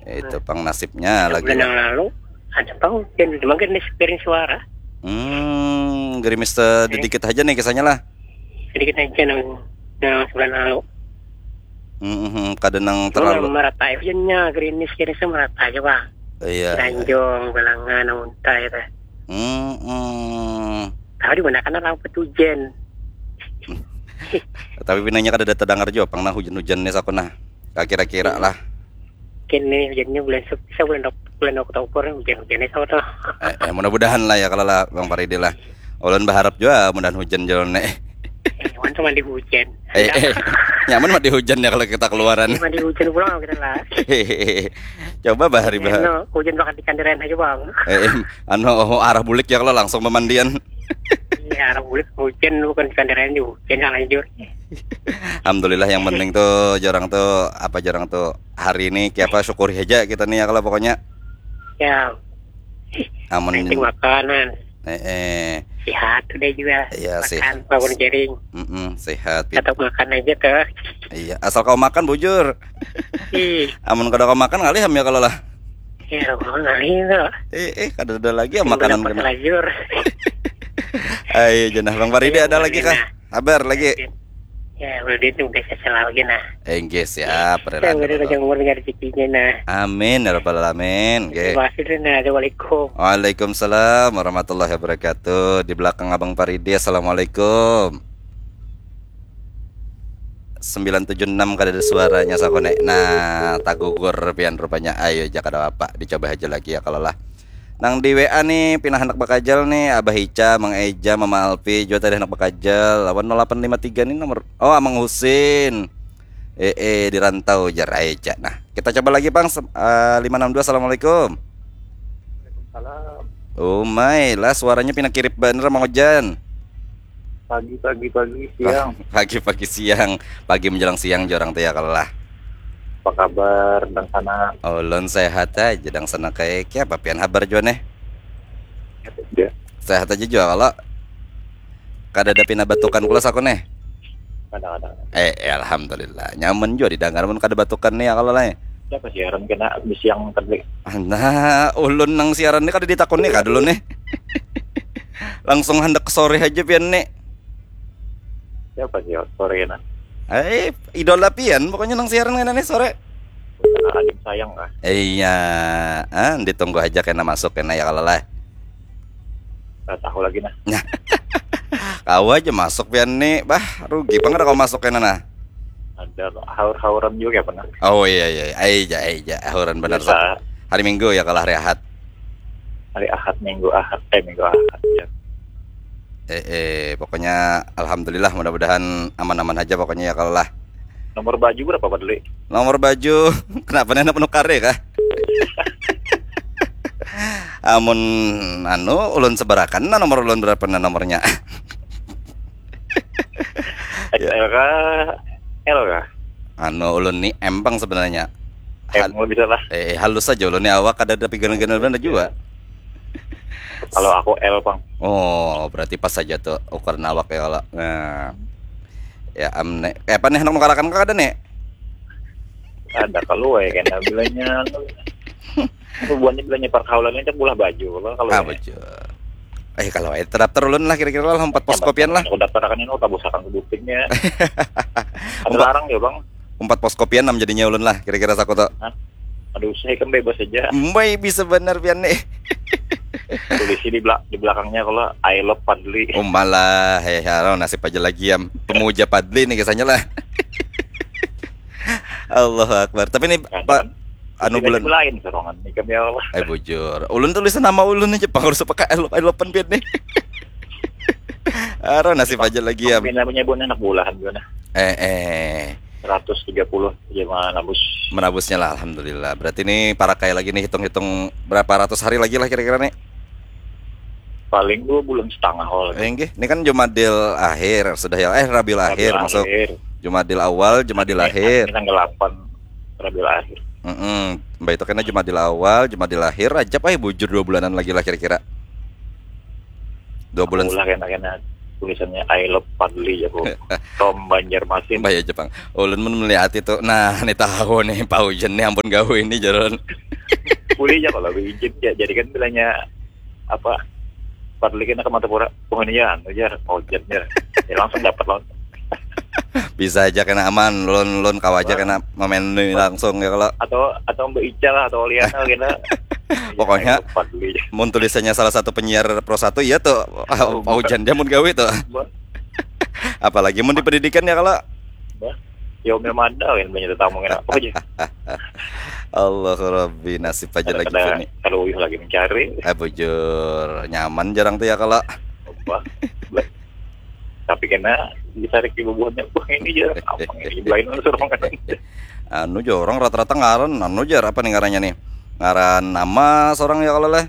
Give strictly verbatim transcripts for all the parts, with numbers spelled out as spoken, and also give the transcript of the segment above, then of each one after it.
Itu pang nasibnya lagi. Bulan yang lalu ada pang hujan, cuma gerimis, gerimis suara. Hmm, gerimis sedikit aja nih kisahnya lah. Sedikit aja nang, nang sebulan lalu. Hmm, hmm, hmm, kada nang terlalu merata hujannya, gerimis, gerimis merata aja, Bang. Iya. Tanjung, Balangan, Unta itu. Hmm, hmm. Tahu di mana kan orang petujen. Tapi pinanya kada ada terdengar juga pang nah hujan-hujan nih saku nah. Kira-kira lah. Kini hujannya bulan Sep-, sa bulan Oktober, hujan-hujannya sama tuh. Eh, eh, mudah-mudahan lah ya kalau lah Bang Paridi lah. Ulun berharap juga mudahan hujan jalan nih. Eh, Wan tuh mandi hujan. Eh, eh, nyaman mandi hujan ya kalau kita keluaran. Eh, mandi hujan pulang kita lah. Coba bahari bahari. Hujan bakal di kandiran aja, Bang. Eh, eh, anu, oh, arah bulik ya kalau langsung pemandian. Iya, arah bulik hujan, bukan di kandiran juga hujan, salah jujur. Alhamdulillah, yang penting tuh jarang tuh apa jarang tuh hari ini kayak apa syukuri aja kita nih ya kalau pokoknya. Ya. Amun penting makanan. Eh, eh. Sehat udah juga. Iya, makan sehat. Bangun jaring. Mm-mm, sehat. Tetap makan aja tuh. Iya, asal kau makan bujur. Ih. Amun kada kau makan ngalih ham ya kalau lah. Iya, kau ngalih tuh. Eh, eh, kada ada lagi ya makanan kena. Ayo, jenah Bang Paridi ada lagi kah? Kabar lagi. Ya, udah itu udah selalu lagi nah. Enggak siap, ya, udah panjang umur dengan rezekinya nah. Amin ya rabbal alamin. Oke. Terima kasih nah. Assalamualaikum. Waalaikumsalam warahmatullahi wabarakatuh. Di belakang Abang Paridi, assalamualaikum. Sembilan tujuh enam kada ada suaranya sakonek. Nah, tagugur pian rupanya. Ayo aja kada apa, dicoba aja lagi ya kalau lah. Nang di W A nih, pina handak bakajal nih, Abah Ica, Mang Eja, Mama Alfi, jua tadi handak bakajal. Lawan nol delapan lima tiga nih nomor, oh, Amang Husin. Eh, eh, di rantau jar Eja. Nah, kita coba lagi, Bang. Sem- eh, lima enam dua, assalamualaikum. Waalaikumsalam. Umai lah, suaranya pina kirip banar, Mang Ojan. Pagi, pagi, pagi, siang. Pagi-pagi, siang. Pagi menjelang siang jorang tuh ya kalau lah. Apa kabar dang sana? Ulun sehat aja dang sana. Kayak apa pian habar jua nih? Sehat aja. Sehat aja jua kalau. Kada ada pina batukan pulas aku nih. Kada, kada. Eh, eh, alhamdulillah. Nyaman jua didangar mun kada batukan nih ya kalau lah. Siapa siaran kena di siang tadi? Nah, ulun nang siaran nih kada ditakuni kah dulu nih. Langsung handak ke sore aja pian nih. Siapa sih sore kena? Eh, idola pian pokoknya nang siaran kena nih sore. Adim sayang kah? Iya, ah, ditunggu aja kena masuk kena ya kalau lah. Nggak tahu lagi nah. Kau aja masuk pian nih, bah rugi pang ada kau masuk kena nah. Ada haur-hauran juga apa nah? Oh iya iya, aja aja hauran benar. Hari Minggu ya kalau hari Ahad. Hari Ahad, Minggu Ahad, eh Minggu Ahad ya. Eh, eh, pokoknya alhamdulillah mudah-mudahan aman-aman aja pokoknya ya kalau lah. Nomor baju berapa Pak Deli? Nomor baju kenapa nih anak menukar ya kah? Amun anu ulun seberakan nah nomor ulun berapa nah nomornya? X L kah? L kah? Anu ulun ni M pang sebenarnya. M bisa lah. Eh, halus saja ulun ni awak kada ada pigan-pigan benar juga. Kalau aku L pang. Oh, berarti pas saja tuh ukuran awak ya kalau. Nah. Ya am ne. Eh, apa nih nang nukarakan kada nih? Ada kalau ya kena bilanya. Buahnya bilanya pergaulan ini bulah baju kalau. Ah, baju. Eh kalau itu daftar ulun lah kira-kira lah empat pos kopian lah. Aku daftar akan ini aku tabusakan ke bupingnya. Ada larang ya bang. Empat pos kopian enam jadinya ulun lah kira-kira saku tuh. Aduh saya kan bebas aja. Mbai bisa benar pian nih. Polisi di, belak di belakangnya kalau I love Padli. Oh malah heh haro nasib aja lagi ya. Pemuja Padli nih kisahnya lah. Allahu Akbar. Tapi nih Pak anu bulan lain sorongan nih kami Allah. Eh bujur. Ulun tulisan nama ulun aja pang harus pakai I love I love pian nih. Aro nasib aja lagi ya. Namanya bulan anak bulahan gimana? Eh eh. Seratus tiga puluh ya menabus. Menabusnya lah alhamdulillah. Berarti ini para kaya lagi nih hitung-hitung berapa ratus hari lagi lah kira-kira nih. Paling dua bulan setengah kalau lagi. Enggih, ini kan Jumadil akhir sudah ya. Eh Rabiul akhir masuk. Jumadil awal, Jumadil akhir. Ini tanggal delapan Rabiul akhir. Mm-mm. Mbak itu kena Jumadil awal, Jumadil akhir, Rajab, eh bujur dua bulanan lagi lah kira-kira. Dua bulan. Lah kena kena. tulisannya I love Fadli ya, bro. From Banjarmasin. Bahaya Jepang. Ulun mun melihat itu, nah, ini tahu nih, Pak Ujen nih, ampun gawe ini, jalan. Boleh ya kalau izin ya. Jadi kan bilanya apa, Fadli kena ke Martapura, oh, ini ya, anu ya, Pak Ujen ya. Ya, langsung dapat langsung. Bisa aja kena aman, lon lon kawa aja kena mamenui langsung ya kalau. Atau atau Mbak Ica lah, atau Oliana kena. Pokoknya mun tulisannya salah satu penyiar Pro satu, iya tuh. Oh, Pak Ujan dia mun gawe tuh. Apalagi mun di pendidikan ya kalau. Ya umil mada kan banyak tetamu kena apa aja. Allah Rabbi, nasib aja lagi ini. Kalau uyuh lagi mencari. Eh bujur, nyaman jarang tuh ya kalau. Tapi kena ditarik di bubuhannya, wah ini jarang apa ini, lain suruh makan. Anu jo orang rata-rata ngaran anu jar, apa nih ngarannya nih, ngaran nama seorang ya kalau leh.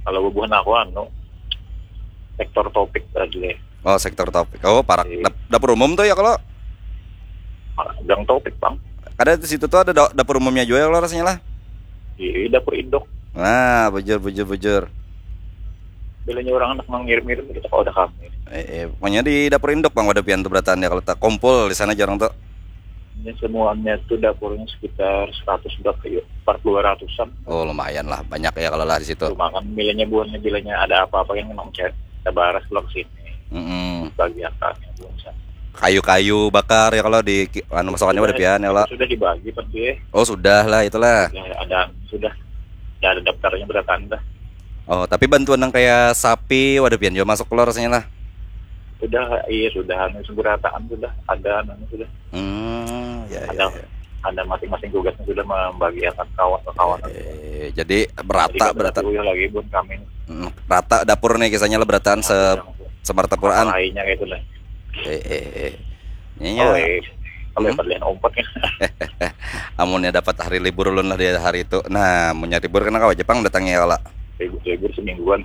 Kalau bubuhan aku anu, sektor topik tadi. Oh, sektor topik. Oh, parak dap dapur umum tuh ya kalau. Gang topik bang. Ada di situ tuh ada dapur umumnya juga ya kalau rasanya lah. Iya, dapur induk. Nah, bujur bujur bujur. Bilanya orang anak ngirim-ngirim kita kalau udah kami. Eh, eh, pokoknya di dapur induk bang, wadah pian tuh berataan ya kalau tak kumpul di sana jarang tuh. Ini semuanya tuh dapurnya sekitar seratus berapa ya? Empat dua ratusan. Oh lumayan lah, banyak ya kalau lah di situ. Cuma kan bilanya buahnya bilanya ada apa-apa yang kena mencet. Kita baras pulang sini. Mm -mm. Bagi akalnya buah sana. Kayu-kayu bakar ya kalau di anu masukannya pada pian ya kalau. Sudah dibagi pasti. Oh sudah lah itulah. Ya, ada sudah. Ya ada daftarnya berapa anda? Oh tapi bantuan yang kayak sapi, waduh pian juga masuk keluar rasanya lah. Sudah, iya sudah, anu seberataan sudah, ada anu sudah. Hmm, ya, ya, ada, ya. Ada masing-masing tugasnya sudah membagiakan kawan ke kawan. Eh, jadi berata jadi berata. Lagi buat kami. Hmm, rata dapur nih kisahnya lah berataan se semartapuraan. Lainnya gitu lah. Eh, eh, eh. Ini oh, eh. Kalau hmm? Kalian ompatnya. Amunnya dapat hari libur ulun lah di hari itu. Nah, munnya libur kena kawa Jepang datangnya kalau. Libur, libur semingguan.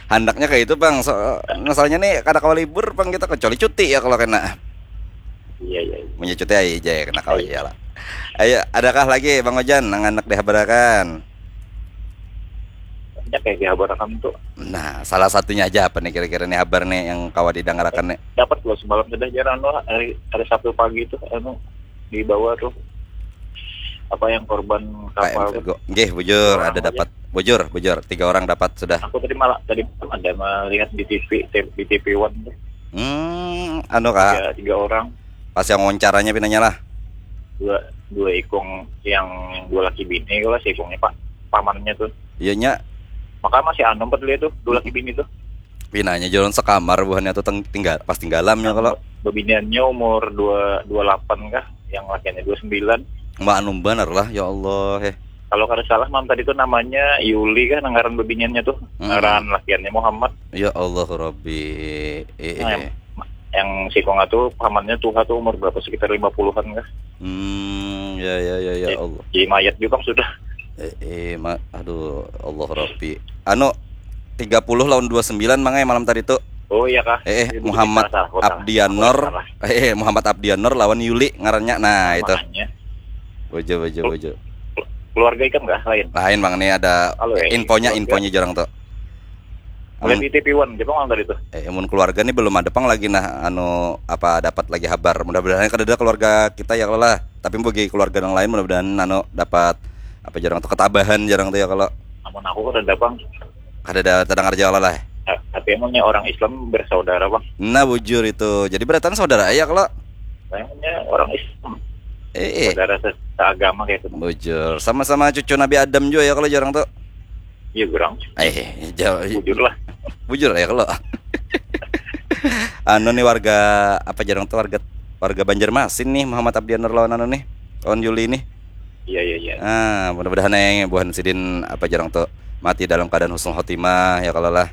Handaknya kayak itu bang. So, masalahnya nih kada kawa libur bang kita kecuali cuti ya kalau kena. Iya iya. Punya cuti aja ya kena kau aja lah. Ayo, adakah lagi Bang Ojan nang anak dihabarakan? Banyak ya dihabarakan tuh. Nah, salah satunya aja apa nih kira-kira nih habar nih yang kawa didangarakan nih? Dapat loh semalam sudah jarang loh hari hari Sabtu pagi tuh anu di bawah tuh apa yang korban kapal tuh. Nggih, bujur ada dapat. Bujur, bujur. Tiga orang dapat sudah. Aku tadi malah tadi ada melihat di T V di T V One tuh. Hmm, anu kak. Tiga, tiga orang. Pas yang wawancaranya pinanya lah. Dua dua ikung yang dua laki bini kalau si ikungnya pak pamannya tuh. Iya nya. Maka masih anu empat dia tuh dua laki bini tuh. Pinanya jalan sekamar buhannya tuh teng, tinggal pas tinggalamnya kalau. Bebiniannya umur dua dua delapan kah, yang lakiannya dua sembilan. Mbak anu benar lah ya Allah eh. Kalau kada salah malam tadi tuh namanya Yuli kan ngaran bebiniannya tuh. Hmm. Ngaran lakiannya Muhammad. Ya Allah Rabbi. Eh, nah, eh. Yang, yang si Konga tuh pamannya tuha tuh umur berapa sekitar lima puluhan kah? Hmm, ya ya ya ya eh, Allah. Jadi mayat juga kan sudah. Eh, eh ma aduh Allah Rabbi. Anu tiga puluh lawan dua sembilan mangai malam tadi tuh. Oh iya kah? Eh, eh Muhammad Abdianor. Eh, eh Muhammad Abdianor lawan Yuli ngarannya. Nah, itu. Bojo bojo bojo. Keluarga ikam kah lain? Lain bang, ini ada Halo, ya, infonya keluarga. Infonya jarang tuh. Mulai di T V One, Jepang orang tadi tuh. Eh, mun keluarga nih belum ada pang lagi nah anu apa dapat lagi habar. Mudah-mudahan kada ada keluarga kita ya kalau lah. Tapi bagi keluarga yang lain mudah-mudahan anu dapat apa jarang tuh ketabahan jarang tuh ya kalau. Amun aku kada ada pang. Kada ada terdengar jauh lah. Tapi emangnya orang Islam bersaudara bang? Nah bujur itu. Jadi beratan saudara ya kalau. Emangnya orang Islam. Eh, eh. Saudara seagama kayak itu. Bujur. Sama-sama cucu Nabi Adam juga ya kalau jarang tuh. Iya kurang. Eh, jauh. Bujur lah. Bujur ya kalau. Anu nih warga apa jarang tuh warga warga Banjarmasin nih Muhammad Abdianur lawan anu nih lawan Yuli nih. Iya iya iya. Ah, mudah-mudahan eh buhan sidin apa jarang tuh mati dalam keadaan husnul khotimah ya kalau lah.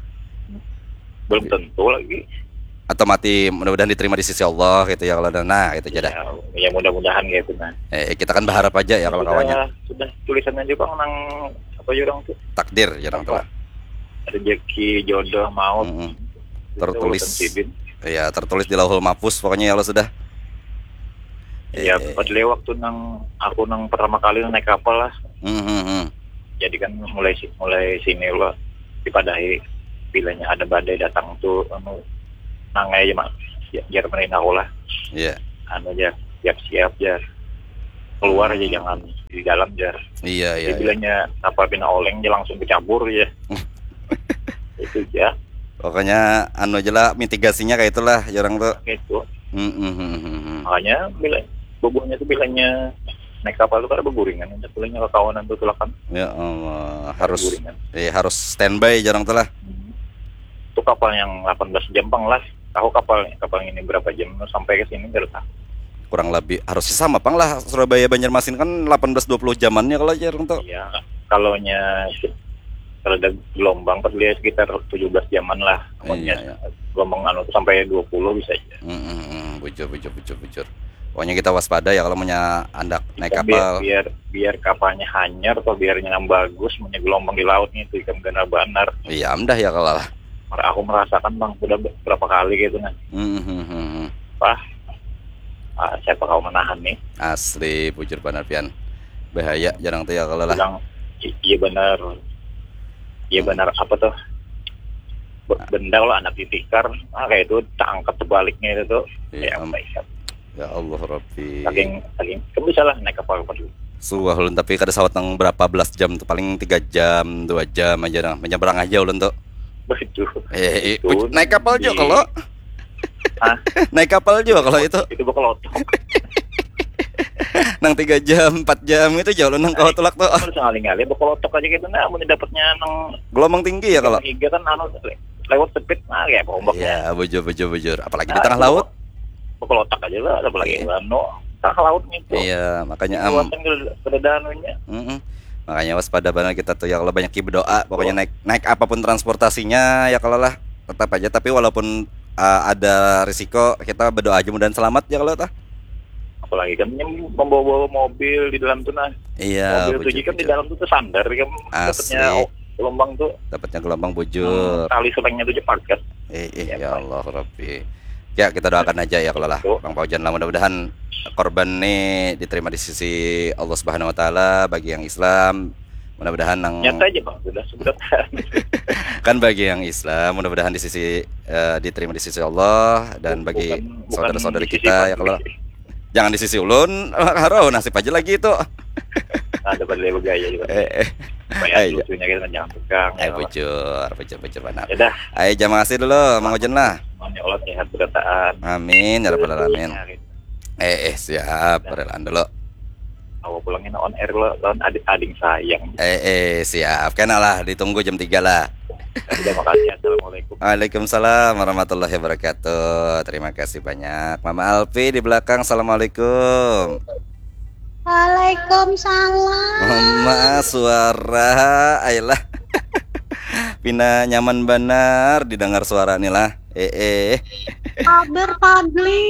Belum tentu lagi. Atau mati mudah-mudahan diterima di sisi Allah gitu ya kalau nah itu aja dah. Ya, ya mudah-mudahan gitu nah. Eh kita kan berharap aja ya kalau kawannya. Sudah tulisannya juga nang apa ya orang tuh. Takdir ya orang tuh. Rezeki jodoh maut. Mm -hmm. Tertulis. Iya tertulis di lauhul mahfuz pokoknya ya Allah sudah. Iya, eh. Pada waktu nang aku nang pertama kali naik kapal lah. Hmm, hmm, hmm. Jadi kan mulai mulai sini lo dipadahi bilanya ada badai datang tuh anu Nang aja mak, ya, jar mending aku lah. Iya. Anu aja, siap-siap aja. Keluar aja, jangan di dalam aja. Iya, iya. Jadi bilanya kapal pina oleng aja langsung kecabur aja. Itu aja. Pokoknya anu aja lah, mitigasinya kayak itulah, jarang tuh. Kayak itu. Hmm, hmm, hmm, hmm, hmm. Makanya bila bubuhnya tuh bilanya naik kapal tuh kada berguringan, bilanya kekawanan tuh tulakan. Ya Allah, harus, eh, harus standby jarang tuh lah. Hmm. Itu kapal yang delapan belas jam pang lah. Tahu kapal, kapal ini berapa jam sampai ke sini, kada tahu. Kurang lebih harus sama pang lah, Surabaya Banjarmasin kan delapan belas dua puluh jamannya kalau jarang tuh. Iya, kalau nya kalau ada gelombang pas dia sekitar tujuh belas jaman lah. Iya, iya. Gelombang anu tuh sampai dua puluh bisa aja. Hmm, hmm, hmm, bujur, bujur, bujur, bujur. Pokoknya kita waspada ya kalau punya anak naik kapal. Biar, biar kapalnya hanyar atau biarnya yang bagus, punya gelombang di lautnya itu ikan benar-benar. Iya, amdah ya kalau lah. Aku merasakan bang, sudah berapa kali gitu nah. Hmm, hmm, hmm, hmm. Wah, ah, siapa kau menahan nih? Asli, bujur banar pian. Bahaya jarang tuh ya kalau lah. Bilang, "I-, iya benar. Iya benar apa tuh? Be-, benda lah anak ditikar." Ah, kayak itu tak angkat sebaliknya itu tuh. Iya, ya, am-, ya Allah Rabbi. Saking, saking, kan bisa lah naik kapal pergi. Suah ulun tapi kada sawat nang berapa belas jam tuh, paling tiga jam, dua jam aja nah. Menyeberang aja ulun tuh. Begitu. Eh, naik kapal juga kalau. Hah? Naik kapal juga kalau itu. Itu bekelotok. Nang tiga jam, empat jam itu jauh nang kawa tulak tuh. Harus ngalih-ngalih bekelotok aja gitu nah, mun dapatnya nang gelombang tinggi ya kalau. Tiga kan anu le-, lewat speed nah kayak apa ombaknya. Iya, bujur, bujur, bujur. Apalagi di tengah laut. Bekelotok aja lah, apalagi anu tengah laut gitu. Iya, makanya am. Kada, kada ada anunya. Mm-mm. Makanya waspada banget kita tuh ya kalau banyak berdoa. Pokoknya naik, naik apapun transportasinya ya kalau lah tetap aja. Tapi walaupun uh, ada risiko, kita berdoa aja mudahan selamat ya kalau tah. Apalagi kan yang membawa-bawa mobil di dalam tuh nah. Iya, mobil tujuh kan di dalam tuh tersandar kan. Asli. Dapatnya gelombang tuh. Dapatnya gelombang bujur. Hmm, tali selengnya tuh cepakat. Eh, eh, ya Allah Rabbi. Ya kita doakan aja ya kalau lah Bang Paujan lah, mudah-mudahan korban nih diterima di sisi Allah Subhanahu wa taala bagi yang Islam. Mudah-mudahan nang nyata aja bang sudah sudah kan bagi yang Islam mudah-mudahan di sisi uh, diterima di sisi Allah dan bagi saudara-saudari kita ya kalau jangan di sisi ulun harau nasib aja lagi itu ada pada bergaya juga eh, eh. Supaya lucunya kita jangan tegang eh, ya bujur bujur bujur benar ya dah ayo jam makasih dulu Mang Ujan lah ya Allah sehat berataan amin ya rabbal alamin eh eh siap relaan dulu Awa pulangnya on air lo lawan adik ading sayang. Eh eh siap kena lah ditunggu jam tiga lah. Terima kasih assalamualaikum. Waalaikumsalam warahmatullahi wabarakatuh. Terima kasih banyak. Mama Alfi di belakang assalamualaikum. Waalaikumsalam. Mama suara ayolah. Pina nyaman banar didengar suara nih lah. Eh eh. Kabar Fadli.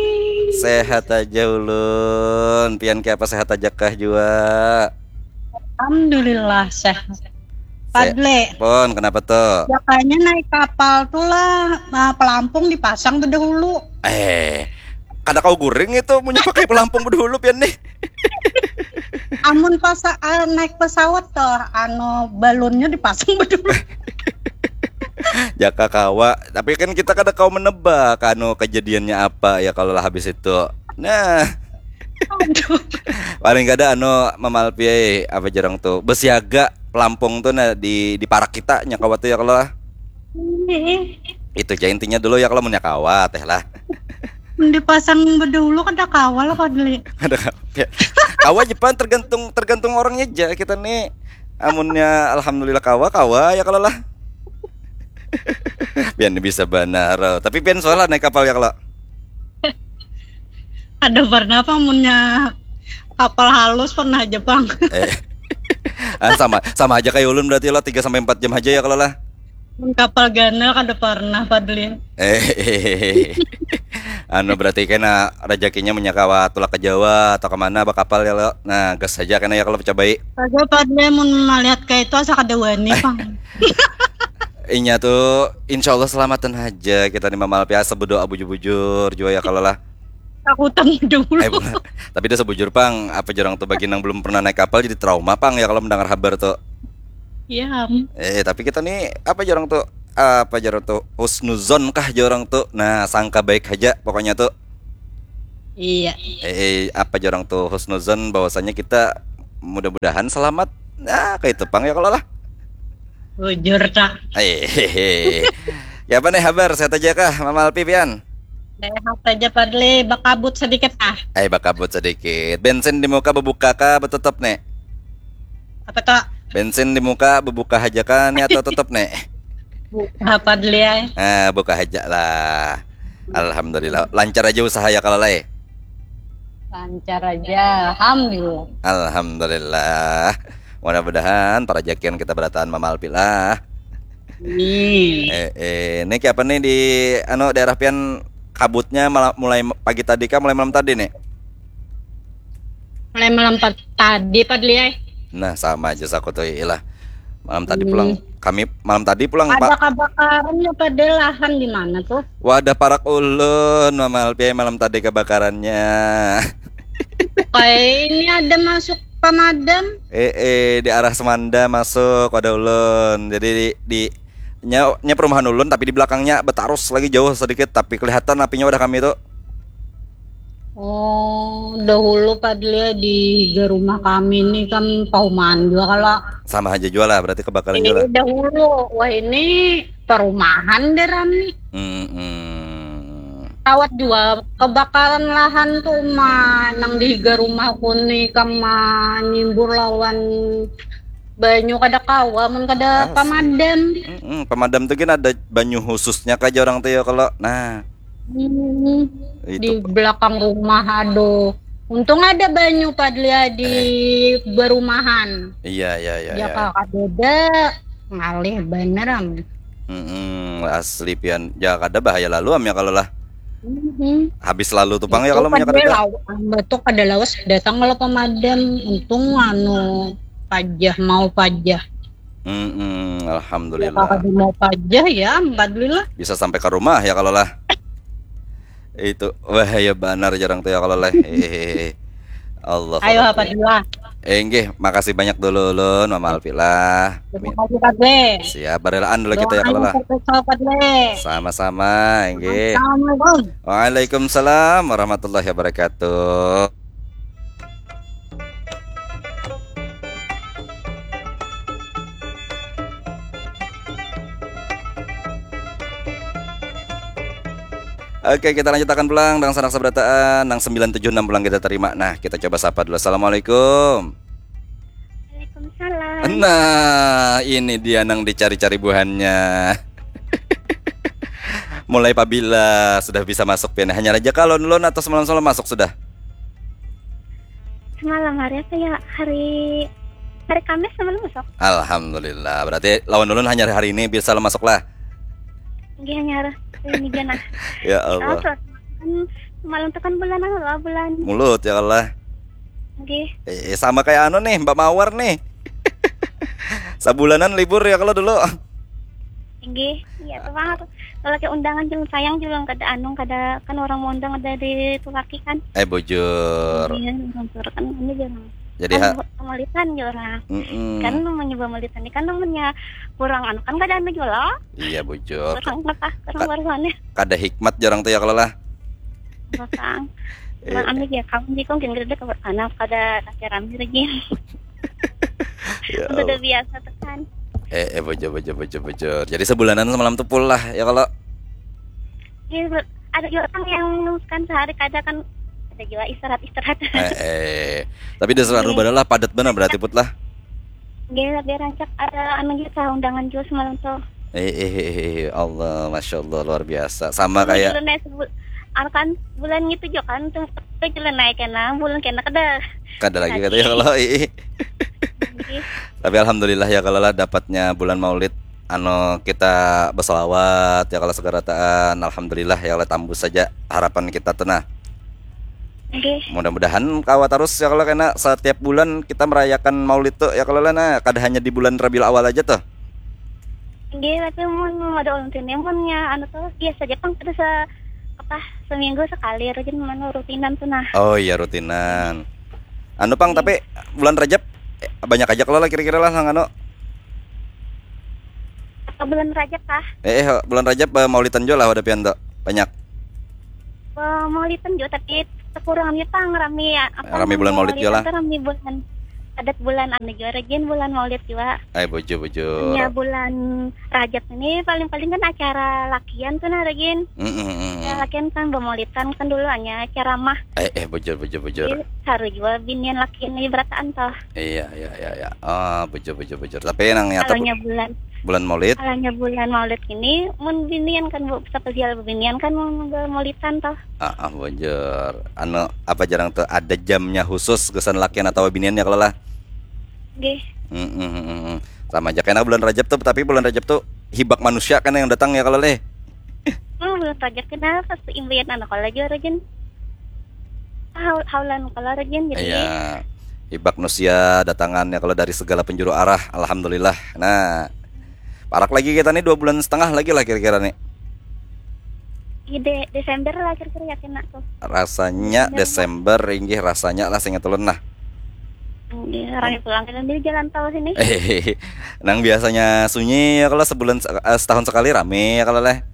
Sehat aja ulun. Pian ke apa sehat aja kah jua? Alhamdulillah sehat. Padle. Pon, kenapa tuh? Ya kayaknya naik kapal tuh lah, nah, pelampung dipasang tuh dahulu. Eh, kada kau guring itu punya pakai pelampung dahulu pian nih. Amun pas uh, naik pesawat tuh, anu balonnya dipasang dahulu. Jaka kawa, tapi kan kita kada kau menebak anu kejadiannya apa ya kalau lah habis itu. Nah. Aduh. Paling kada anu mamalpiai apa jarang tuh besiaga pelampung tuh nah di di parak kita nya kawa tuh ya kalau lah. Itu aja intinya dulu ya kalau punya kawa teh lah. Dipasang bedulu kada kawa lah padahal. Kada kawa. Kawa Jepang tergantung tergantung orangnya aja kita nih. Amunnya alhamdulillah kawa kawa ya kalau lah. Pian bisa banar. Tapi pian soalnya naik kapal ya kalau. Ada pernah apa munnya kapal halus pernah aja bang. Eh. Ah, sama sama aja kayak ulun berarti lo tiga sampai empat jam aja ya kalau lah. Mun kapal ganal kada pernah Fadli. Eh. Anu berarti kena rezekinya menyakawa tulak ke Jawa atau kemana apa kapal ya lo. Nah, gas saja kena ya kalau cobai. Saja Fadli mun melihat kayak itu asa kada wani pang. Inya tuh insya Allah selamatan aja kita nih mamal biasa berdoa bujur-bujur juga ya kalau lah. Takutan dulu. Eh, tapi dia sebujur pang apa jarang tuh bagi yang belum pernah naik kapal jadi trauma pang ya kalau mendengar kabar tuh. Iya. Eh tapi kita nih apa jarang tuh apa jar tu, husnuzon kah jar orang tu. Nah, sangka baik haja pokoknya tu. Iya. Eh, apa jar orang tu, husnuzon bahwasanya kita mudah-mudahan selamat. Nah, kayak itu pang ya kalau lah. Bujur tak. Eh, ya apa nih kabar? Sehat aja kah, Mama Alpi pian? Sehat aja Padli, bakabut sedikit ah. Eh, bakabut sedikit. Bensin di muka bebuka kah, betutup nih? Apa tak? Bensin di muka bebuka aja kah nih atau tutup nih? Buka Padli ay. Ah, buka aja lah. Alhamdulillah. Lancar aja usaha ya kalau lah. Lancar aja, alhamdulillah. Alhamdulillah. Mudah-mudahan parajakian kita berataan Mama Alpi lah. Nih. Eh, eh, ini kayak apa nih di anu daerah pian kabutnya malah mulai pagi tadi kah, mulai malam tadi nih? Mulai malam pa- tadi Padli ay. Nah, sama aja saku tuh ilah. Malam tadi pulang kami malam tadi pulang Ada Pak. Kebakaran ya Padli, lahan di mana tuh? Wadah parak ulun Mama Alpi malam tadi kebakarannya. Kayak ini ada masuk pemadam. Eh, eh di arah Semanda masuk wadah ulun. Jadi di, di nya, nya perumahan ulun tapi di belakangnya betarus lagi jauh sedikit tapi kelihatan apinya wadah kami tuh. Oh, dahulu Padli di higa rumah kami nih kan pahuman juga kalau Sama aja juga lah berarti kebakaran juga ini lah. Dahulu, wah ini perumahan deh rami. Hmm, hmm. Kawat juga kebakaran lahan tuh mah nang di higa rumahku nih kama nyimbur lawan banyu kada kawa mun kada Asli. Pemadam. Hmm, hmm. Pemadam tuh kan ada banyu khususnya kah jar orang tuh ya kalau. Nah, Hmm, itu di belakang rumah aduh. Untung ada banyu Padli di berumahan. Iya, iya, iya, iya. Jaka kadada ngalih bener am. Mm-mm, asli pian. Ya kada bahaya lalu am ya kalau lah. Mhm. Habis lalu tuh pang ya kalau Kada menyakit. law- betul kada lawas datang kalau pemadam. Untung anu pajah mau pajah. Mm-mm, Ya, alhamdulillah. Kada mau pajah ya, alhamdulillah. Bisa sampai ke rumah ya kalau lah. Itu bahaya banar jar orang tuh ya kalau lah. Hehehe. Allah Ayo Allah. apa dua? Eh, nggih, makasih banyak dulu ulun Mama Alfi lah. Terima kasih Padli. Siap, barelaan dulu kita ya kalau lah. Doakan Padli. Sama-sama, nggih. Assalamualaikum. Waalaikumsalam warahmatullahi wabarakatuh. Oke, kita lanjutakan pulang dengan sanak sabarataan nang sembilan tujuh enam pulang kita terima. Nah, kita coba sapa dulu. Assalamualaikum. Waalaikumsalam. Nah, ini dia nang dicari-cari buhannya. Mulai pabila sudah bisa masuk pian? Hanyar aja kah lawan ulun atau semalam-semalam masuk sudah? Semalam hari apa ya? Hari hari Kamis semalam masuk. Alhamdulillah. Berarti lawan ulun hanyar hari ini bisa masuk lah. Nggih hanyar hari ini jana. Ya Allah. Kan semalam tuh kan bulan anu lah bulan. Mulut ya Allah. Nggih. Eh, sama kayak anu nih, Mbak Mawar nih. Sabulanan libur ya kalau dulu. Nggih. Iya tuh banget. Kalau kayak undangan juga sayang juga kada anu kada kan orang mau undang ada di tulaki kan. Eh, bujur. Iya, nonton kan ini jarang. Jadi Kan ha, buat pemalitan ya orang. mm-mm. Kan namanya pemalitan ini kan namanya kurang anu kan kada anu juga lah. Iya, bujur. Kurang apa? Kurang Ka- barusannya. Kada hikmat jarang tuh ya kalau lah. Kurang. Iya. Kurang anu ya kamu di kong gini kada kabar anak kada nanti rame lagi. Ya Sudah Allah. Biasa tuh kan. Eh, eh, bujur, bujur, bujur, bujur. Jadi sebulanan semalam tuh pulang ya kalau. Iya, ada juga orang yang kan sehari kada kan ada juga istirahat istirahat. Eh, eh. Tapi di seluruh badan lah padat benar berarti put lah. Dia lebih rancak ada anu juga undangan juga semalam tuh. Eh, eh, eh, eh, Allah, masya Allah luar biasa. Sama Bulan kayak Juli naik sebul- anu kan bulan gitu juga kan tuh ke Juli naik kena bulan kena kada. kada lagi katanya kalau ih. Nggih. Tapi alhamdulillah ya kalau lah dapatnya bulan Maulid anu kita bersolawat ya kalau segerataan alhamdulillah ya kalau tambus saja harapan kita tuh nah. Nggih. Mudah-mudahan kawa terus ya kalau kena setiap bulan kita merayakan Maulid tuh ya kalau lah nah kada hanya di bulan Rabiul Awal aja tuh. Nggih, tapi mun ada ulun sini mun ya anu tuh biasa aja pang kada se apa seminggu sekali rajin mana rutinan tuh nah. Oh iya rutinan. Anu pang tapi bulan Rajab eh, banyak aja kalau lah kira-kira lah nang anu. Ke bulan Rajab kah? Eh, eh bulan Rajab eh, maulitan jua lah ada pian tuh. Banyak. Maulitan juga tapi kekurangannya pang rami ya. Apa Rami bulan maulid jua lah. Rami bulan adat bulan anu juga rajin bulan maulid juga. Eh bujur bujur. Ya bulan Rajab ini paling-paling kan acara lakian tuh nah rajin. Mm -mm. Ya, lakian kan bermaulidan kan dulu hanya ceramah. Eh eh bujur bujur bujur. Jadi, harus juga binian lakian ini berataan toh. Iya iya iya iya. Ah bujur bujur bujur. Tapi nang nyata. Kalau bulan bulan Maulid. Alanya bulan Maulid ini mun binian kan bu spesial binian kan mun maulidan toh. Ah, ah bujur. Anu apa jarang tuh ada jamnya khusus kesan lakian atau binian ya kalau lah. Gih. Hmm, hmm, hmm, hmm. Sama aja kena bulan Rajab tuh, tapi bulan Rajab tuh hibak manusia kan yang datang ya kalau leh. Oh, bulan Rajab kenapa sih imbian anak kalau aja rajin. Haulan kalau rajin jadi. Iya. Hibak nusia datangannya kalau dari segala penjuru arah, alhamdulillah. Nah, parak lagi kita nih dua bulan setengah lagi lah kira-kira nih. Ide Desember lah kira-kira ya kena tuh. Rasanya Desember, Desember inggih rasanya lah seingat ulun nah. Iya, rame pulang kan di jalan tol sini. Nang biasanya sunyi ya kalau sebulan eh, setahun sekali rame ya kalau leh.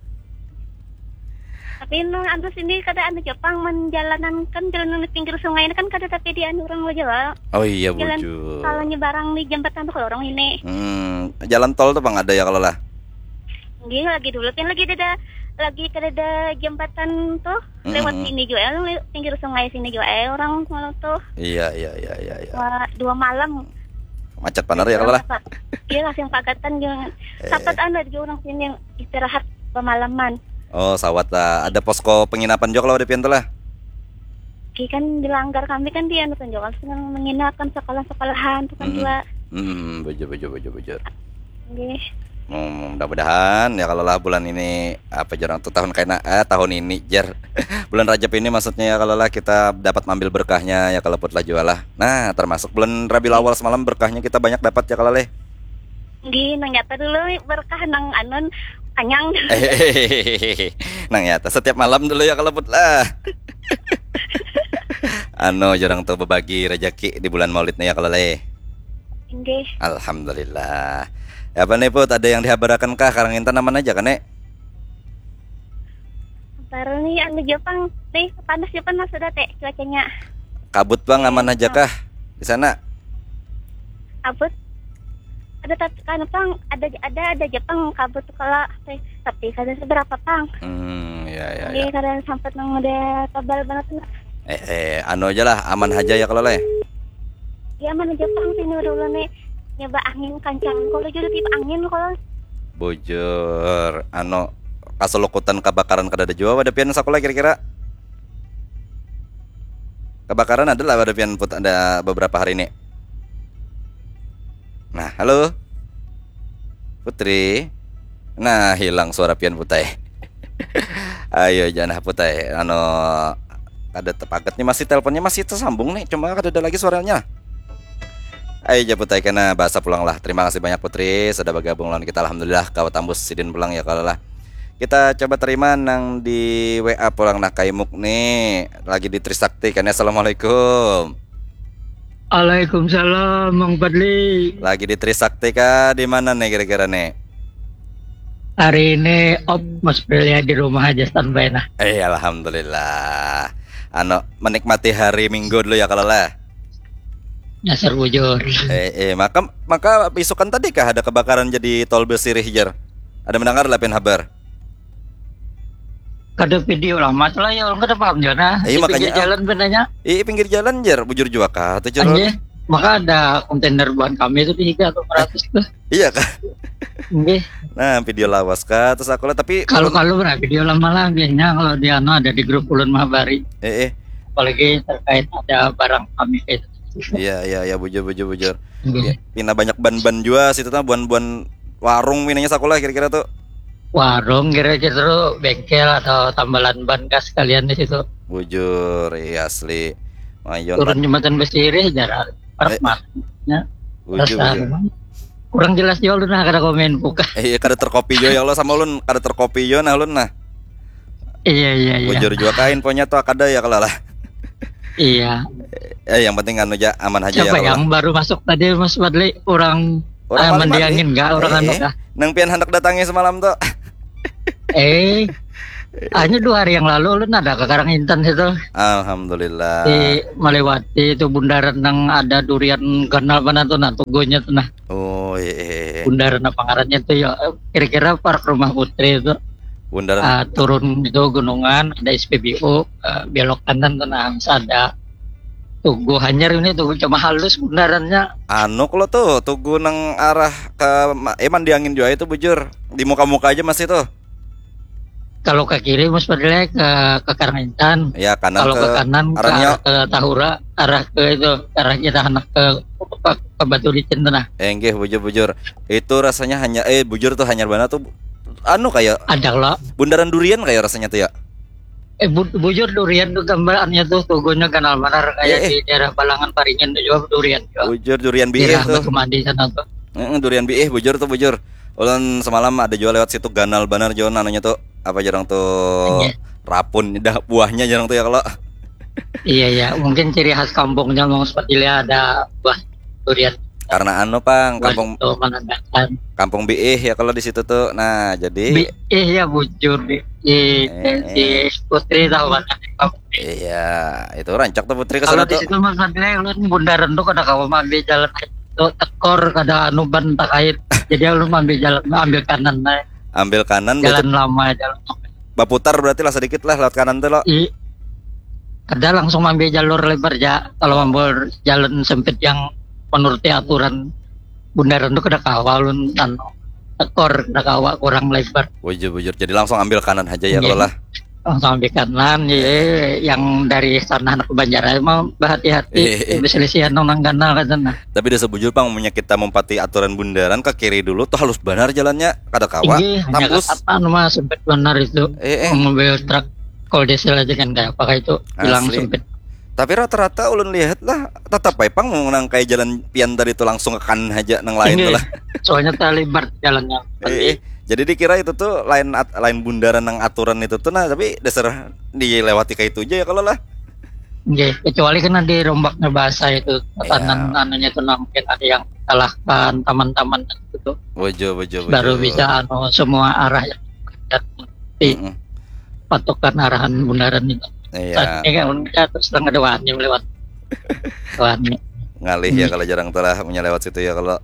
Tapi nang anu sini kada anu Jepang menjalanan kan jalan di pinggir sungai ini kan kada tapi di anu orang aja lah. Oh iya jalan, bujur. Kalau nyebarang di jembatan tuh kalau orang ini. Hmm, jalan tol tuh bang ada ya kalau lah. Gih lagi dulu kan lagi ada lagi kada ada jembatan tuh lewat mm-hmm. Sini juga pinggir sungai sini juga eh orang kalau tuh. Iya iya iya iya. Iya. Wah, dua malam. Macet panar ya kalau lah. Iya langsung pagatan juga. Eh. Sapat anda juga orang sini yang istirahat pemalaman. Oh sawat lah. Ada posko penginapan juga kalau ada pian tuh lah. Ki kan dilanggar kami kan dia anu tunjukkan senang menginap kan sekolah-sekolahan tuh kan mm-hmm. Dua. Hmm, bujur bujur bujur bujur. Nggih. Hmm, mudah-mudahan ya kalau lah bulan ini apa jarang tuh tahun kaina eh tahun ini jer bulan Rajab ini maksudnya ya kalau lah kita dapat ambil berkahnya ya kalau putlah jualah nah termasuk bulan Rabiul Awal semalam berkahnya kita banyak dapat ya kalau leh Nggih, nang nyata dulu berkah nang anun kanyang. Nang nyata setiap malam dulu ya kalau putlah. Anu jarang tuh berbagi rezeki di bulan Maulid nih ya kalau leh. Inggih. Alhamdulillah. Apa nih Put, ada yang dihabarakan kah? Karang intan aman aja kan, Nek? Baru nih anu Jepang, nih panas Jepang mas sudah teh cuacanya. Kabut bang aman aja kah di sana? Kabut. Ada tapi kan pang ada ada ada Jepang kabut kalau teh tapi kada seberapa pang. Hmm, ya ya. Jadi ya. Kada sampai nang udah tebal banget. Eh, eh, anu aja lah, aman aja ya kalau leh. Ya mana Jepang sini udah ulun nih nyoba angin kancang kalau jadi tipe angin kalau. Bujur, anu kasulukutan kebakaran kada ada jua pada pian sekolah kira-kira. Kebakaran ada lah pada pian put ada beberapa hari ini. Nah, halo. Putri. Nah, hilang suara pian putai. Ayo janah putai. Anu kada tepagat nih masih teleponnya masih tersambung nih, cuma kada ada lagi suaranya. Ayo ja putai kena bahasa pulang lah. Terima kasih banyak Putri sudah bergabung lawan kita alhamdulillah kau tambus sidin pulang ya kalau lah. Kita coba terima nang di W A pulang nah kaimuk nih lagi di Trisakti kan ya. Assalamualaikum. Waalaikumsalam Mang Fadli. Lagi di Trisakti kah di mana nih kira-kira nih? Hari ini op Mas Prilia di rumah aja standby nah. Eh alhamdulillah. Anu menikmati hari Minggu dulu ya kalau lah. Dasar bujur. Eh, eh maka maka isukan tadi kah ada kebakaran jadi tol bersirih jer. Ada mendengar lah pin habar. Kada video lama lah ya orang kada paham juga nah. Iya makanya. Pinggir jalan benarnya. Iya pinggir jalan jer bujur juga kah tuh jer. Maka ada kontainer buat kami itu tiga atau ratus tuh. Iya kah? Nggih. Nah, video lawas kah terus aku lah tapi kalau kalau nah, video lama lah biasanya kalau di anu ada di grup ulun mah bari. Eh, eh. Apalagi terkait ada barang kami itu. Iya, iya, iya, bujur, bujur, bujur. Ya, pina banyak ban-ban juga situ tuh, buan-buan warung minanya sakulah kira-kira tuh. Warung kira-kira tuh bengkel atau tambalan ban kas kalian di situ. Bujur, iya asli. Mayon. Turun jembatan Besirih jarak. Parah eh. Ya. Bujur, bujur. Kurang jelas juga lu nah kada komen buka. Iya kada terkopi juga ya Allah sama ulun kada terkopi juga nah ulun nah. Iya iya iya. Bujur juga kain punya tuh kada ya kalau lah. Iya. Eh, yang penting anu aja aman aja ya. Siapa ya, yang baru masuk tadi Mas Fadli orang Orang Ah, Malimar, mendiangin eh. Kak, orang Eh, anu eh. Kak. Nang pian handak datangi semalam tu. Eh, hanya dua hari yang lalu ulun ada ke Karangintan situ. Alhamdulillah. Di melewati itu bundaran yang ada durian ganal mana tuh nah, tugunya tuh nah. Oh, iya, iya, iya. Bundaran apa ngarannya tuh ya? Kira-kira Park Rumah Putri itu. Bundaran Ah, turun itu gunungan, ada S P B U, eh, belok kanan tuh nah, ada Tugu Hanyar ini, Tugu cuma halus bundarannya. Anu kalau tuh, Tugu nang arah ke ma- eh Mandiangin juga itu bujur. Di muka-muka aja masih tuh. Kalau ke kiri Mas Fadli ke ke Karangintan. Ya, kanan Kalau ke ke kanan ke arahnya arah ke Tahura, arah ke itu, arah kita anak ke ke, ke Batu Licin tuh nah. Eh, nggih, bujur-bujur. Itu rasanya hanya eh bujur tuh hanyar banget tuh. Anu kayak Ada lah. Bundaran durian kayak rasanya tuh ya. Eh bu- bujur durian tuh gambarannya tuh tugunya ganal banar kayak Eh, eh. Di daerah Balangan Paringin tuh juga durian juga. Bujur durian biih Daerah tuh. Batu Mandi sana tuh. Heeh, durian biih bujur tuh bujur. Ulun semalam ada juga lewat situ ganal banar juga anunya tuh. Apa jarang tuh Iya. Rapun dah buahnya jarang tuh ya kalau. Iya ya, mungkin ciri khas kampungnya mau seperti ada buah durian. Karena anu pang Buah kampung itu menandakan. Kampung Biih ya kalau di situ tuh. Nah, jadi Bi eh ya bujur di di, Eh, di Putri tahu kan? Iya, itu rancak tuh Putri ke Kalau sana di tuh. Situ Mas Fadli ulun bundaran tuh kada kawa ambil jalan itu tekor kada anu ban takait. Jadi ulun ambil jalan ambil kanan nah. Ambil kanan batu- Jalan lama jalan. Baputar berarti lah sedikit lah lewat kanan tuh lo. I ada langsung ambil jalur lebar ya. Kalau ambil jalan sempit yang menuruti aturan bundaran tuh kada kawa ulun anu tekor kada kawa kurang lebar. Bujur-bujur. Jadi langsung ambil kanan aja ya Iya. Kalau lah. Langsung ambil kanan ya, yang dari sana anak Banjar aja mau berhati-hati Eh, eh. Berselisihan nang ganal kan sana. Tapi dasar bujur pang, munnya kita mempati aturan bundaran ke kiri dulu tuh halus banar jalannya, kada kawa. Tinggi hanya Tambus. Katapan mah sempit benar itu. Eh, eh. Mobil truk kalau diesel aja kan kayak pakai itu hilang Asli. Sempit. Tapi rata-rata ulun lihat lah, tetap bae pang mau nang kayak jalan pian tadi tuh langsung ke kanan aja nang lain Ini tuh lah. Soalnya terlibat jalannya. Eh, eh. Jadi dikira itu tuh lain at- lain bundaran nang aturan itu tuh nah, tapi dasar dilewati kayak itu aja ya kalau lah. Nggih, kecuali kan ada rombaknya bahasa itu tatanan Iya. Anunya tuh nah, mungkin ada yang salahkan taman-taman gitu Bojo, bojo, bojo. Baru bisa anu semua arah yang di Mm-mm. patokan arahan bundaran itu. Iya. Tadinya kan ulun kita terus terang ada wani lewat wani. Ngalih ya kalau jarang tuh lah punya lewat situ ya kalau.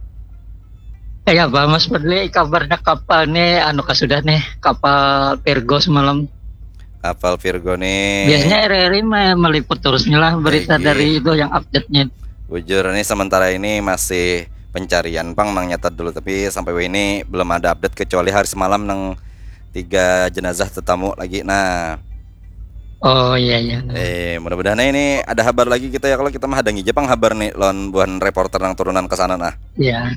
Kayak apa Mas Fadli kabarnya kapal nih anu kah sudah nih kapal Virgo semalam. Kapal Virgo nih. Biasanya R R I me- meliput terus nih lah berita Lagi. Dari itu yang update-nya. Bujur nih sementara ini masih pencarian pang nang nyata dulu, tapi sampai ini belum ada update kecuali hari semalam nang tiga jenazah tetamu lagi. Nah, Oh iya iya. eh mudah-mudahan ini ada kabar lagi kita ya kalau kita mah hadangi aja pang kabar nih lawan buhan reporter nang turunan ke sana nah. Iya.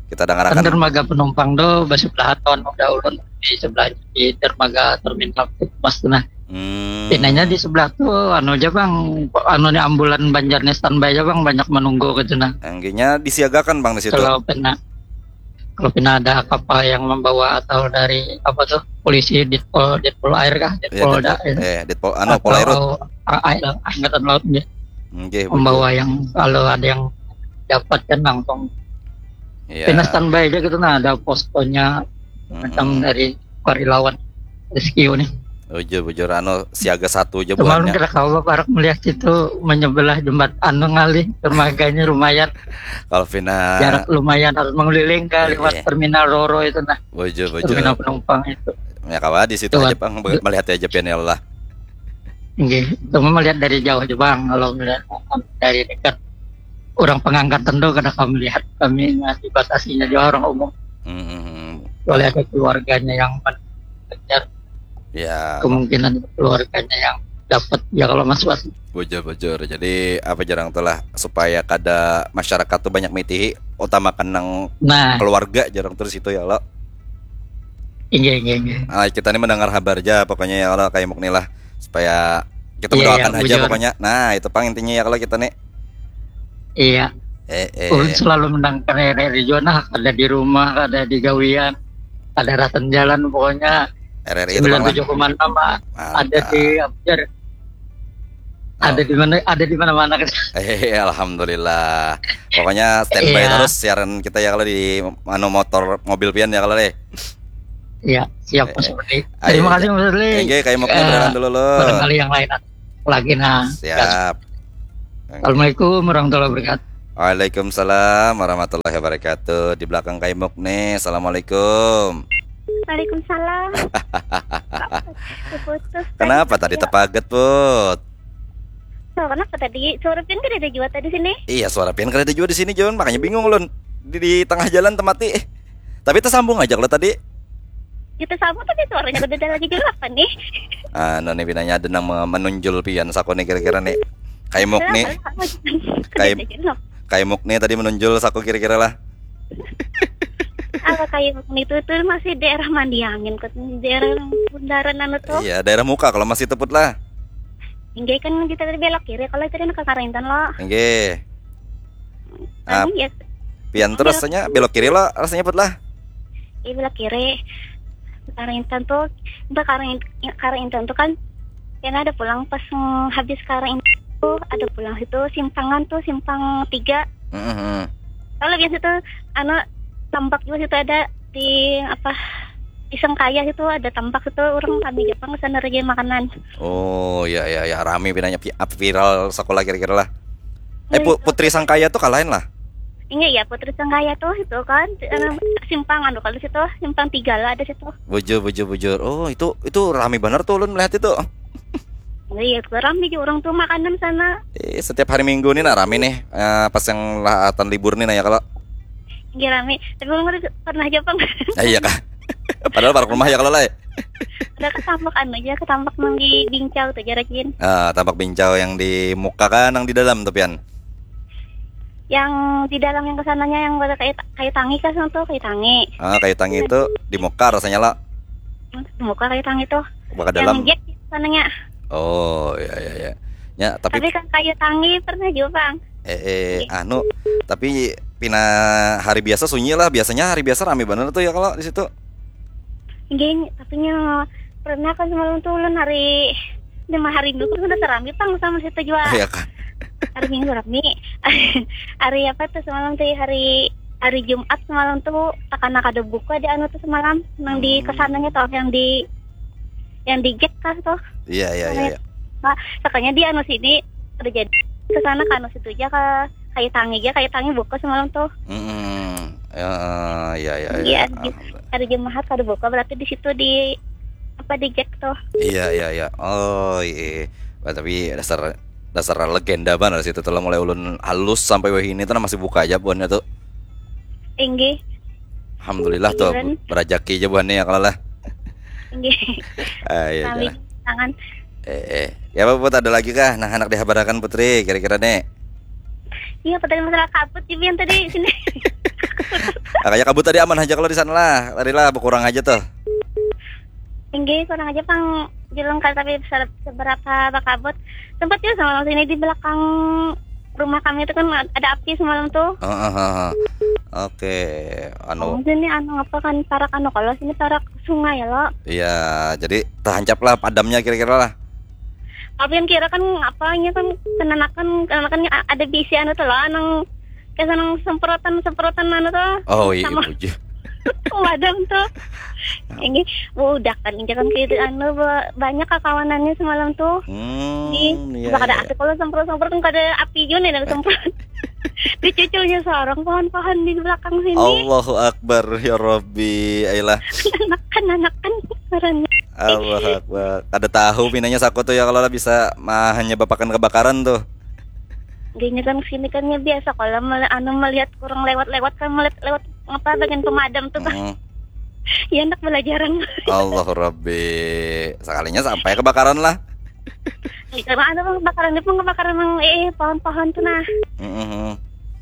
Kita Kan dangarakan. Dermaga penumpang do sebelah tahun udah ulun di sebelah di dermaga terminal Mas tuh nah. Hmm. Pinanya di sebelah tuh anu aja bang, anu nih ambulan Banjar nih standby aja bang, banyak menunggu gitu nah. Angginya disiagakan bang di situ. Kalau pernah kalau pernah ada kapal yang membawa atau dari apa tuh polisi Ditpol Ditpol air kah Iya, Ditpol Ditpol, da- eh, Ditpol, anu, atau Polairut. A- A- angkatan laut ya Nggih, membawa yang kalau ada yang dapat kan langsung Iya. Pina standby aja gitu nah ada poskonya macam Mm-mm. Dari Karilawan Rescue nih. Bujur, bujur, anu siaga satu aja Kemarin buhannya. Krakatau parak melihat situ menyebelah jembat anu ngalih dermaganya lumayan Kalau Vina, jarak lumayan harus mengeliling ke Iya. Lewat terminal Roro itu nah bujur, bujur. Terminal penumpang itu. Ya kawan di situ Tuan. Aja bang melihat aja pian ya Allah. Nggih, cuma melihat dari jauh aja bang kalau melihat dari dekat orang pengangkatan tuh kada kami lihat kami masih batasinya juga orang umum Hmm. Boleh ada keluarganya yang mengejar Ya, kemungkinan keluarganya yang dapat ya kalau Mas Wat. Bujur-bujur. Jadi apa jarang tuh lah supaya kada masyarakat tuh banyak mitihi utamakan nang Nah, keluarga jarang terus itu ya lo. Inggih inggih inggih. Ah, kita nih mendengar kabar aja pokoknya ya lo kayak mukni lah supaya kita Iya, mendoakan iya, aja bujur. Pokoknya. Nah, itu pang intinya ya kalau kita nih. Iya. Eh, eh. Ulun selalu mendengar R R I juga nah, kada di rumah, kada di gawian, kada rasan jalan pokoknya R R I itu bang lah. Sembilan tujuh koma enam ah, ada Mantap. Di Abjar. Ada di mana, ada di mana-mana kita. Eh, alhamdulillah. Pokoknya standby Iya. Terus siaran kita ya kalau di anu motor mobil pian ya kalau deh. Ya, siap Mas Fadli. Ayo, Terima kasih Mas Fadli. Enggak, kayak mau Eh, dulu lo. Barangkali yang lain lagi nah. Siap. Assalamualaikum warahmatullahi wabarakatuh. Waalaikumsalam warahmatullahi wabarakatuh. Di belakang Kaimuk nih. Assalamualaikum. Waalaikumsalam. Putus. Kenapa tadi tepaget, Put? So, kenapa tadi? Suara pian kada ada jua tadi sini. Iya, suara pian kada ada jua di sini, Jun. Makanya bingung ulun. Di, di tengah jalan temati. Tapi tersambung aja kalau tadi. Kita sama tapi suaranya kada ada lagi jua apa nih? Ah, nah, nih pinanya ada nang me- menunjul pian saku nih kira-kira nih. Kaimuk nih. Kenapa? Kenapa? Kaim- Kada ada jua. Kaimuk nih tadi menunjul saku kira-kira lah. Apa Kaimuk nih tuh, tuh masih daerah Mandiangin kok, daerah bundaran anu tuh. Iya, daerah muka kalau masih teput lah. Inggih kan kita tadi belok kiri kalau tadi ke Karintan lo. Enggak. Ah, Anu ya, pian tuh rasanya belok kiri lo, rasanya Put lah. Iya belok kiri. Karintan tuh, entah Karintan tuh kan, karena ada pulang pas mm, habis Karintan tuh ada pulang situ simpangan tuh simpang tiga. Heeh. Kalau biasa tuh anu tambak juga situ ada di apa di Sengkaya situ ada tambak situ orang kami Jepang ke sana aja makanan. Oh, ya ya ya, rame pinanya pi- apa viral sekolah kira-kira lah. Eh, Pu- Putri Sangkaya tuh kalain lah. Enggak ya Putri Sengkaya tuh itu kan anu, simpang anu kalau situ simpang tiga lah ada situ. Bujur bujur bujur. Oh, itu itu rame bener tuh ulun melihat itu. Iya, itu rame juga orang tuh makanan sana. Eh, setiap hari Minggu nih nah rame nih. Eh, pas yang latan libur nih nah ya kalau. Iya rame. Tapi orang udah pernah Jepang. Ah, iya kah? Padahal park rumah ya kalau lah. Ya. Ada ketambak anu aja, ketambak nang di Bincau tuh aja rajin. Ah, tambak Bincau yang di muka kan yang di dalam tuh pian. Yang di dalam yang kesananya yang ada kayu kayu tangi kan sana tuh kayu tangi. Ah, kayu tangi itu di muka rasanya lah. Muka kayu tangi tuh. Muka Yang dalam. Jack di sananya. Oh, iya iya iya. Ya, tapi Tapi kan kayu tangi pernah juga bang. eh, eh anu tapi pina hari biasa sunyi lah. Biasanya hari biasa rame bener tuh ya kalau di situ. Geng, tapi nya pernah kan semalam tuh ulun hari lima hari minggu kan sudah serami pang sama situ juga. Iya kan. Hari minggu rami. Hari apa tuh semalam tuh hari hari Jumat semalam tuh takana kada buka di anu tuh semalam nang di Hmm. kesananya tuh yang di yang di Jack kah tuh. Iya iya iya. Iya. Nah, sakanya di anu sini udah jadi ke sana ke anu situ aja ke kayu tangi aja kayu tangi buka semalam tuh. Mm-mm. Ya, iya iya Iya, iya. di- Alhamdulillah. Hari Jumat kada buka berarti di situ di apa di Jack tuh. Iya iya iya. Oh iya. Wah, tapi dasar dasar legenda banget situ telah mulai ulun halus sampai wahini tuh masih buka aja buannya tuh. Tinggi. Alhamdulillah tuh Iya. berajaki aja buannya ya kalau lah. Tinggi. Ah, iya, Kami iya. Tangan. Eh, eh. Ya apa buat ada lagi kah? Nah, anak dihabarakan Putri kira-kira nih. Iya, pertanyaan masalah kabut juga yang tadi sini. Makanya kabut tadi aman aja kalau di sana lah. Tadi lah berkurang aja tuh. Tinggi kurang aja pang julung kali tapi se- seberapa bakabut. Sempat juga semalam sini di belakang rumah kami itu kan ada api semalam tuh. Heeh, heeh. Oke, anu Oh, sini anu apa kan parak anu kalau sini parak sungai ya lo. iya, jadi terhancap lah padamnya kira-kira lah. Tapi yang kira kan apanya kan kenanakan kenanakan ada bisi anu tuh lah nang kayak nang semprotan semprotan anu tuh. Oh iya, Sama. Puji. Pemadam tuh. Ini udah kan ini kan kayak anu ba- banyak kakawanannya semalam tuh. Hmm, Di iya. Nggak ada Iya. Api kalau semprot semprot kan kada api juga nih ada semprot. Dicuculnya seorang pohon-pohon di belakang sini. Allahu Akbar ya Rabbi. Ayolah. Anakan anakan karena Allahu Akbar. Kada tahu pinanya saku tuh ya kalau lah bisa mah hanya bapakan kebakaran tuh. Gini kan sini kan ya biasa kalau mel- anu melihat kurang lewat-lewat kan melihat lewat apa bagian pemadam tuh kan. Mm. Ya anak belajaran. Allahu Rabbi. Sekalinya sampai kebakaran lah. Karena anu kebakaran itu kebakaran yang eh pohon-pohon tuh nah. Mm-mm.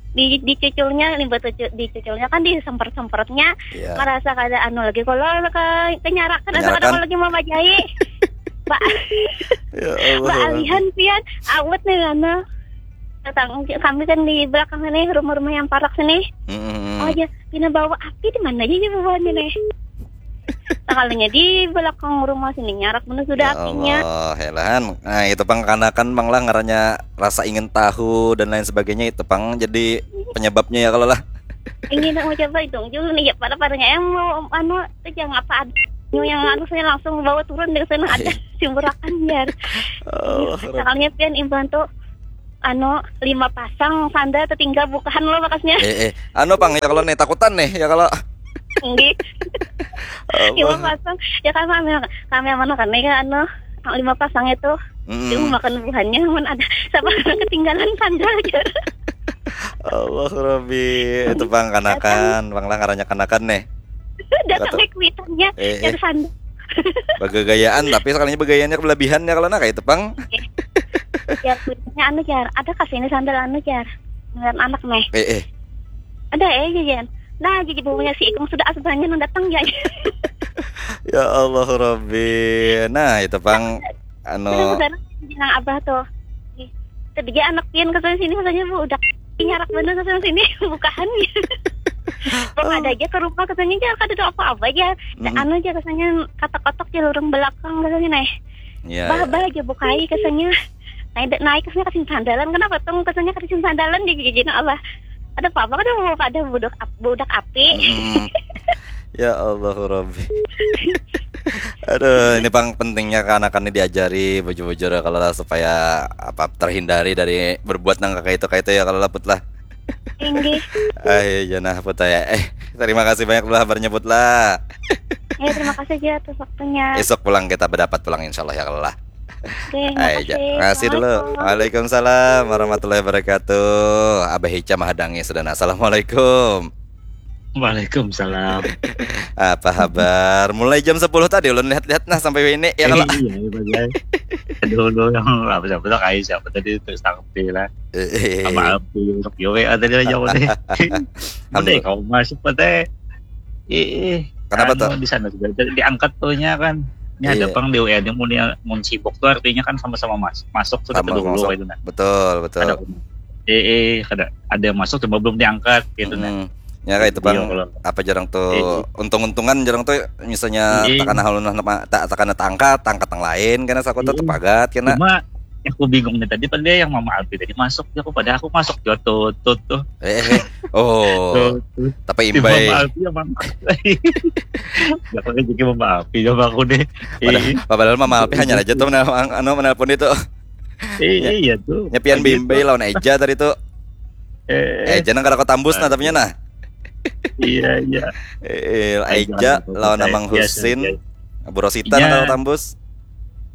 Di dicuculnya limbah tucu- dicuculnya kan disemprot-semprotnya Iya. Merasa kada anu lagi kalau ke kenyarakan atau Kenyarakan. kada kalau lagi mamajai. Mbak Ya Allah. Mbak alihan pian awet nih karena datang kami kan di belakang sini rumah-rumah yang parak sini. Mm-mm. Oh aja pina bawa api di mana aja bawa nih. Sekalinya di belakang rumah sini nyarak bener sudah apinya. Ya Allah, helahan. Nah, itu pang kanakan mang lah ngarannya rasa ingin tahu dan lain sebagainya, itu pang jadi penyebabnya ya kalau lah. Ingin nak mencoba itu dulu nih ya, pada-padanya yang mau anu itu jangan apa ada yang anu saya langsung bawa turun dari sana ada simburakan ya. Oh, Sekalinya pian imbang tuh anu lima pasang sandal tertinggal bukahan lo bekasnya. Eh, eh. Anu pang ya kalau nih takutan nih ya kalau. Enggih. Lima pasang. Ya kan kami kami mana kan nih kan anu lima pasang itu. Mm-mm. Itu makan buahnya mun ada sama ketinggalan sandal aja. Allah Rabbi, itu pang kanakan, pang lah ngarannya kanakan nih. Datang Kata- ke kuitannya Eh, dari eh. sandal. Bagagayaan tapi sekalinya bagayaannya kelebihannya kalau nak itu pang. Ya kuitannya anu jar, ada kasih ini sandal anu jar. Ngeliat anak nih. Eh, eh. Ada eh jajan. Nah jadi bumbunya si Ikung sudah asbanya nang datang ya. Ya Allah Rabbi. Nah, itu pang anu Terus sekarang bilang abah tuh. Kerja anak pian ke sana sini katanya bu udah nyarak bener ke sana sini bukahan. Bang ada aja ke rumah katanya aja kada ada apa-apa aja. Mm-mm. Anu aja katanya katak-katak di lorong belakang katanya nih. ya, Bah ya. Bah aja bukai katanya. Naik naik katanya kasih sandalan kenapa tuh katanya kasih sandalan di gigi Allah. Ada apa-apa kada mau pada budak ap- budak api. Mm-mm. Ya Allah Rabbi. Aduh, ini pang pentingnya kanakan ini diajari bujur-bujur kalau lah supaya apa terhindari dari berbuat nang kayak itu kayak itu ya kalau lah Put lah. Tinggi. Ayo janah Put ya. Eh, terima kasih banyak dulu habarnya Put lah. Ya terima kasih aja atas waktunya. Esok pulang kita berdapat pulang insyaallah ya kalau lah. Oke, Ayo, makasih. ja- makasih dulu. Assalamualaikum. Waalaikumsalam warahmatullahi wabarakatuh. Abah Ica mahadangi sudah. Nah, assalamualaikum. Waalaikumsalam. Apa habar? Mulai jam sepuluh tadi ulun lihat-lihat nah sampai ini ya kalau. Iya, iya, Bang, ya. Aduh, aduh, yang apa siapa tuh kayak siapa tadi terus tangkap lah. Eh, eh, Sama api untuk yo W A tadi aja aku deh. Udah Alhamdulillah. Kau masuk teh. Ih, Kenapa anu, tuh? Di sana juga tadi diangkat tuhnya kan. Ini ada Iya. pang di W A ini mun dia mun sibuk tuh artinya kan sama-sama mas masuk sudah Sama dulu masuk. Kayak itu nah. Betul, betul. Ada eh eh ada ada yang masuk cuma belum diangkat gitu nah. Mm-mm. Ya kayak itu bang Iya, kalau apa jarang tuh Iya. untung-untungan jarang tuh misalnya Iya. Takana halun nama tak takana tangkat tangkat yang lain karena saku tuh Iya. Tepagat karena Cuma yang aku bingungnya tadi pada yang Mama Alpi tadi masuk ya aku pada aku masuk juga tuh tuh tuh eh, eh, eh. Oh, tuh, tuh. Tapi Si imbai. Mama Alpi ya Mama Alpi. Ya aku juga Mama Alpi ya aku deh. Padahal, Iya. padahal Mama Alpi hanya aja tuh menelpon, anu menelpon itu. Iya, iya tuh. Nyepian Lagi bimbai tuh. Lawan Eja tadi tuh. Eh, Eja nang kada tambus nah tapi nah. Iya iya. Eh, Aja Eja tuh, lawan percaya. Amang Iya, Husin. iya. Bu Rosita Iya. Nang kada tambus.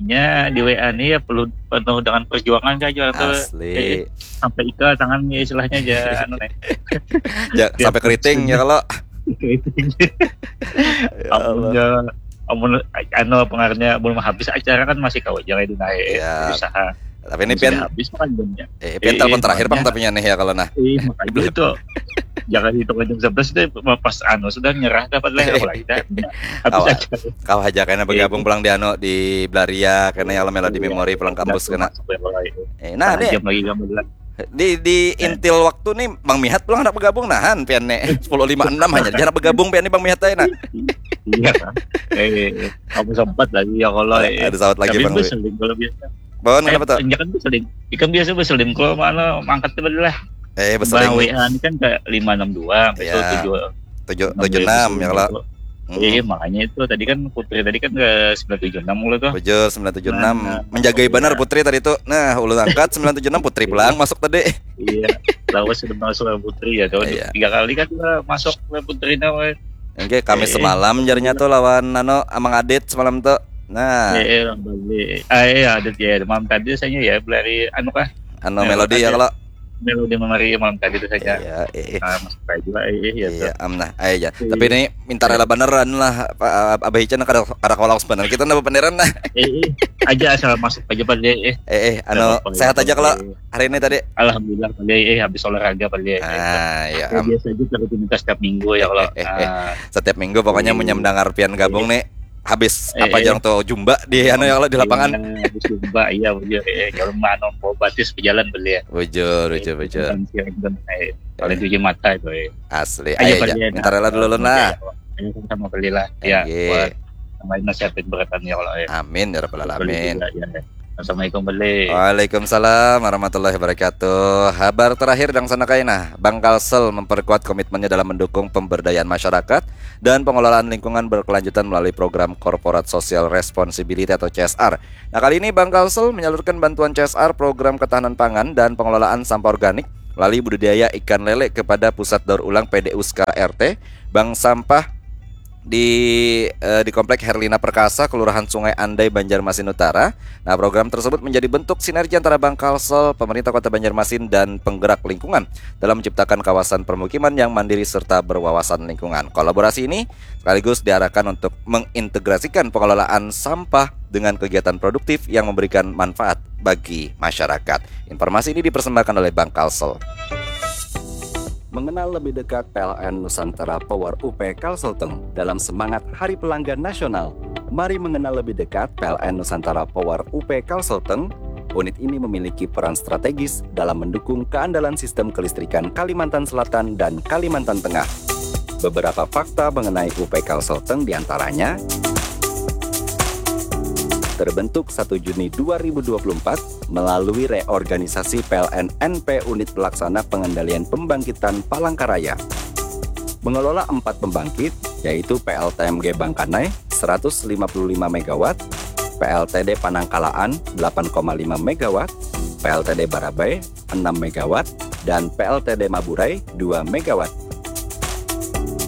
Ya di W A nih ya perlu penuh dengan perjuangan aja atau Asli. eh, sampai ikat tangan ya istilahnya aja anu nih. Ja, sampai keriting ya kalau. Keriting. Ya Amun Allah. ya amun anu pengaruhnya belum habis acara kan masih kau aja itu naik Ya. Usaha. Tapi ini Sudah pian habis kan jamnya. eh, pian Eh, telepon terakhir makanya. Bang tapi nih ya kalau nah. Iya makanya itu. Jangan hitung jam sebelas deh pas anu sudah nyerah dapat lah aku lagi dah. Habis Awak. acara. Kau aja kena bergabung pulang di anu di Blaria kena ya Melody Iya. Memory pulang kampus Iya, kena. masuk ya, mulai. Eh, nah Setengah deh jam lagi gambar lah. Di di intil waktu nih Bang Mihat pulang nak bergabung nahan pian nih sepuluh lima enam hanya dia nak bergabung pian nih Bang Mihat aja nah. Iya kan. Eh, kamu sempat lagi ya kalau Ada, eh. ada sawat lagi Tapi Bang. Bus Link kalau biasa. Bang kenapa tuh? Eh, ya kan Bus Link. Ikan biasa Bus Link kalau mana mangkat tuh lah. Eh Bang beseling W A ini kan ke lima enam dua, Iya. tujuh tujuh tujuh enam ya kalau. Hmm. Iya, makanya itu tadi kan Putri tadi kan ke sembilan tujuh enam mulu tuh. Bujur sembilan tujuh enam Nah, menjagai iya. Benar Putri tadi tuh. Nah, ulun angkat sembilan tujuh enam Putri pulang masuk tadi. Iya, lawas sudah masuk ke Putri ya, tuh Iya. tiga kali kan lah masuk ke Putri nah. Oke, kami Eh. semalam jarinya tuh lawan anu Amang Adit semalam tuh. Nah, Eh, eh, orang balik. Ah, iya, ada ya, malam tadi saya ya, beli anu kah? anu Eh, Melody ya ada. kalau. Melodi memari malam tadi tuh saja. Iya, eh, eh. Ah, masuk aja juga, eh, eh, ya, Iya, tuh. Amnah. Ayo aja. Iya. Tapi ini minta rela beneran lah, Pak Abah Ica kada kada kalau sebenarnya kita nambah paneran nah. Eh, eh, aja asal masuk aja pada, eh. Eh, eh, anu Apa-apa, sehat ya, aja kalau eh. hari ini tadi. Alhamdulillah pada, eh, habis olahraga pada, eh. Ah, ya, Ya, am, biasa aja kalau rutinitas tiap minggu ya kalau. Eh, eh, eh. Ah, Setiap minggu pokoknya Iya. Menyamdangar pian gabung nih. Habis Eh, apa eh. Jarang tuh jumba di anu ya kalau di lapangan. Iya, habis jumba, iya, iya, eh, kalau mau batis berjalan beli ya. Bujur, bujur, bujur. Kan siang kan, eh, paling cuci mata itu, eh. Asli. Ayo, Ayo Pak, aja. iya, Minta rela dulu iya, nah. Ayo sama beli lah. Ya, Iya. buat Main nasihatin beratan ya Allah ya. Amin ya rabbal alamin. Ya, ya. Assalamualaikum beli. Waalaikumsalam warahmatullahi wabarakatuh. Habar terakhir dang sana kaina, Bank Kalsel memperkuat komitmennya dalam mendukung pemberdayaan masyarakat dan pengelolaan lingkungan berkelanjutan melalui program Corporate Social Responsibility atau C S R. Nah, kali ini Bank Kalsel menyalurkan bantuan C S R, program ketahanan pangan dan pengelolaan sampah organik melalui budidaya ikan lele kepada pusat daur ulang P D U skala R T Bank Sampah di eh, di Komplek Herlina Perkasa, Kelurahan Sungai Andai, Banjarmasin Utara. Nah, program tersebut menjadi bentuk sinergi antara Bank Kalsel, pemerintah Kota Banjarmasin, dan penggerak lingkungan dalam menciptakan kawasan permukiman yang mandiri serta berwawasan lingkungan. Kolaborasi ini sekaligus diarahkan untuk mengintegrasikan pengelolaan sampah dengan kegiatan produktif yang memberikan manfaat bagi masyarakat. Informasi ini dipersembahkan oleh Bank Kalsel. Mengenal lebih dekat P L N Nusantara Power U P Kalselteng dalam semangat Hari Pelanggan Nasional. Mari mengenal lebih dekat P L N Nusantara Power U P Kalselteng. Unit ini memiliki peran strategis dalam mendukung keandalan sistem kelistrikan Kalimantan Selatan dan Kalimantan Tengah. Beberapa fakta mengenai U P Kalselteng diantaranya terbentuk satu Juni dua ribu dua puluh empat melalui reorganisasi P L N N P Unit Pelaksana Pengendalian Pembangkitan Palangkaraya. Mengelola empat pembangkit, yaitu P L T M G Bangkanai seratus lima puluh lima megawatt, P L T D Panangkalaan delapan koma lima megawatt, P L T D Barabai enam megawatt, dan P L T D Maburai dua megawatt.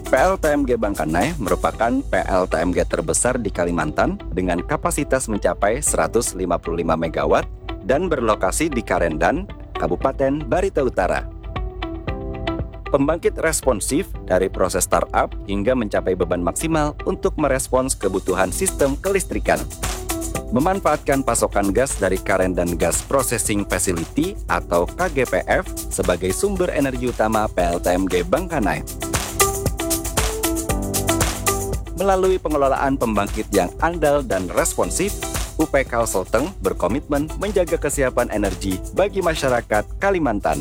P L T M G Bangkanai merupakan P L T M G terbesar di Kalimantan dengan kapasitas mencapai seratus lima puluh lima megawatt dan berlokasi di Karendan, Kabupaten Barito Utara. Pembangkit responsif dari proses startup hingga mencapai beban maksimal untuk merespons kebutuhan sistem kelistrikan. Memanfaatkan pasokan gas dari Karendan Gas Processing Facility atau K G P F sebagai sumber energi utama P L T M G Bangkanai. Melalui pengelolaan pembangkit yang andal dan responsif, U P Kalselteng berkomitmen menjaga kesiapan energi bagi masyarakat Kalimantan.